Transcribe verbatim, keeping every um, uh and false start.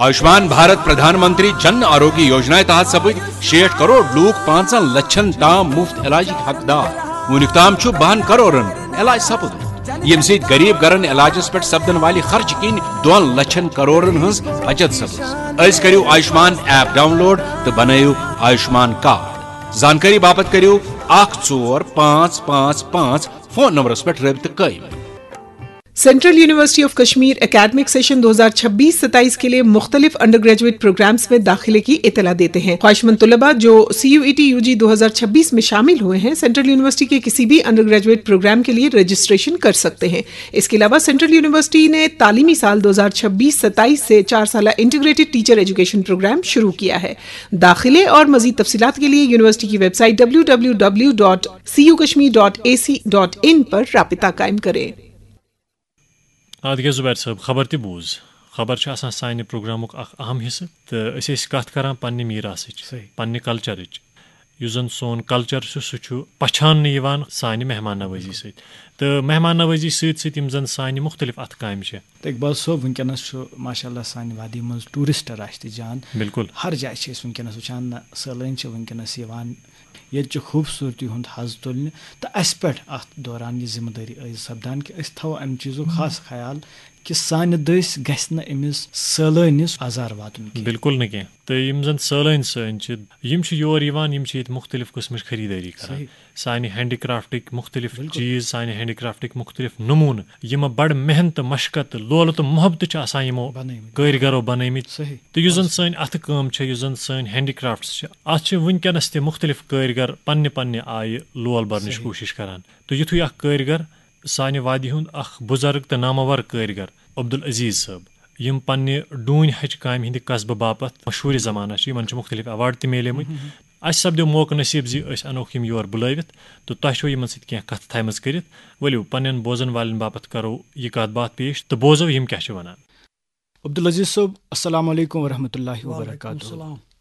آیوشمان بھارت پردھان منتری جن آروگیہ یوجنا تحت سپٕدۍ شیٹھ کروڑ لوٗکھ پانٛژن لچھن تام مفت علاجٕکۍ حقدار۔ وُنیُک تام چھُ بَہَن کروڑن علاج سپُدمُت، ییٚمہِ سۭتۍ غریب گرن علاجس پٮ۪ٹھ سپدن والہِ خرچہٕ کِنۍ دۄن لچھن کروڑن ہٕنٛز بچت سپٕز۔ أزۍ کٔرِو آیوشمان ایپ ڈاؤن لوڈ تہٕ بنٲیِو آیوشمان کارڈ۔ زانکٲری باپتھ کٔرِو اکھ ژور پانٛژھ پانٛژھ پانٛژھ فون نمبرس پٮ۪ٹھ رٲبطہٕ قٲیِم۔ Central university of Kashmir academic session دو ہزار چھبیس ستائیس کے لیے مختلف انڈر گریجویٹ پروگرامز میں داخلے کی اطلاع دیتے ہیں۔ خواہشمند طلباء جو C U E T U G دو ہزار چھبیس میں شامل ہوئے ہیں، سینٹرل یونیورسٹی کے کسی بھی انڈر گریجویٹ پروگرام کے لیے رجسٹریشن کر سکتے ہیں۔ اس کے علاوہ سینٹرل یونیورسٹی نے تعلیمی سال دو ہزار چھبیس ستائیس سے چار سالہ انٹیگریٹڈ ٹیچر ایجوکیشن پروگرام شروع کیا ہے۔ داخلے اور مزید تفصیلات کے لیے یونیورسٹی کی website W W W dot C U Kashmir dot A C dot in پر رابطہ قائم کریں۔ آ، تِکیٛازِ زُبیر صٲب، خبر تہِ بوٗز۔ خبر چھِ آسان سانہِ پروگرامُک اکھ اہم حصہٕ، تہٕ أسۍ ٲسۍ کتھ کران پننہِ میٖراثٕچ، صحیح۔ پننہِ کلچرٕچ۔ یُس زن سون کلچر چھُ، سُہ چھُ پہچاننہٕ یِوان سانہِ مہمان نوٲزی سۭتۍ۔ تہٕ مہمان نوٲزی سۭتۍ سۭتۍ یِم زن سانہِ مختلف اتھٕ کامہِ چھِ۔ تہٕ اقبال صٲب، وٕنکیٚنس چھُ ماشاء اللہ سانہِ وادی منٛز ٹوٗرسٹ رش تہِ جان۔ بِلکُل۔ ہر جایہِ چھِ أسۍ وٕنکیٚنس وٕچھان، نہ، سٲلٲنۍ چھِ وٕنکیٚنس یِوان۔ ییٚتہِ چہِ خوٗبصوٗرتی ہُنٛد حظ تُلنہِ تہٕ اَسہِ پٮ۪ٹھ اَتھ دوران یہِ ذِمہٕ دٲری عٲیِد سپدان کہِ أسۍ تھاوو اَمہِ چیٖزُک خاص خیال کہِ سانہِ دٔسۍ گژھِ نہٕ أمِس سٲلٲنِس آزار واتُن کینٛہہ۔ بِلکُل نہٕ کینٛہہ۔ تہٕ یِم زَن سٲلٲنۍ سٲنۍ چھِ، یِم چھِ یور یِوان، یِم چھِ ییٚتہِ مُختٔلِف قٕسمٕچ خٔریٖدٲری کران۔ صحیح۔ سانہِ ہینڈی کرافٹٕکۍ مُختٔلِف بِلکُل۔ چیٖز، سانہِ ہینڈی کرافٹٕکۍ مُختٔلِف نموٗنہٕ، یِم بَڑٕ محنت تہٕ مشقت تہٕ لولہٕ تہٕ محبتہٕ چھِ آسان یِمو بنٲومٕتۍ۔ کٲرۍ گرو بنٲومٕتۍ۔ صحیح۔ تہٕ یُس زَن سٲنۍ اَتھٕ کٲم چھےٚ، یُس زَن سٲنۍ ہینڈی کرافٹس چھِ، اَتھ چھِ وٕنکیٚنَس تہِ مُختٔلِف کٲرۍ گر پننہِ پننہِ آیہِ لول برنٕچ صحیح۔ کوٗشِش کران۔ تہٕ یُتھُے اکھ کٲرۍ گر سانہِ وادی ہُنٛد اکھ بُزرگ تہٕ نامور کٲرۍ گر عبدالعزیز صٲب، یِم پننہِ ڈوٗنۍ ہچہِ کامہِ ہٕنٛدِ قصبہٕ باپتھ مشہوٗرِ زمانہ چھِ، یِمن چھِ مُختٔلِف ایوارڈ تہِ میلیمٕتۍ۔ اَسہِ سپدیو موقعہٕ نصیٖب زِ أسۍ اَنوکھ یِم یور بُلٲوِتھ تہٕ تۄہہِ چھو یِمن سۭتۍ کینٛہہ کتھٕ تھایمژٕ کٔرِتھ۔ ؤلِو، پننٮ۪ن بوزن والٮ۪ن باپتھ کرو یہِ کتھ باتھ پیش تہٕ بوزو یِم کیٛاہ چھِ ونان۔ عبدالعزیز صٲب، السلام علیکم ورحمۃ اللہ وبرکاتہ۔ وعلیکم السلام۔